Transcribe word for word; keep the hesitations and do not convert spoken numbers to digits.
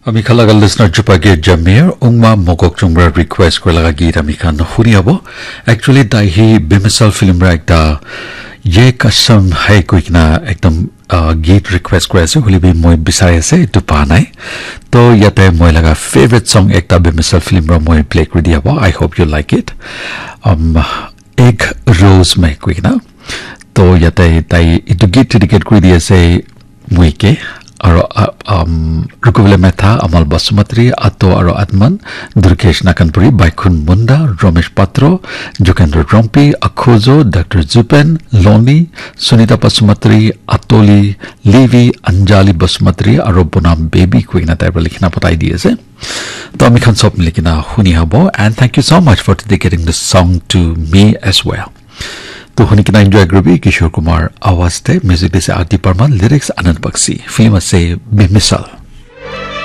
Ami khan laga listener Chupa Gate Jamir, Ungma Mogok Chungra request kura laga git ami khan huni abo. Actually, tai hi Bimisal film ra ekta Ye Kasam Hai koi kena ekdam uh, git request kura ase, huli bi moi bisari ase, etu pa nai. To yate moi laga favorite song ekta Bimisal film ra moi play kuri di abo. I hope you like it. Um, Ek Rose Mein koi kena. To yate tai etu git dedicate kuri di ase, Muike, aro uh, um, Rukuvile Metha, Amal Basumatri, Ato aro Atman, Durkesh Nakanpuri, Baikhun Munda, Romesh Patro, Jokendra Rompi, Akhojo, Doctor Zupen, Loni, Sunita Basumatri, Atoli, Levi, Anjali Basumatri, aro Bonam Baby koi kena tai para likhina patai di ase. To ami khan sob mili kena huni habo, and thank you so much for dedicating the song to me as well. To huni kena enjoy kuri bi Kishore Kumar awaz te, music dise Aarti Parman, lyrics Anand Bakshi, film ase Bimisal.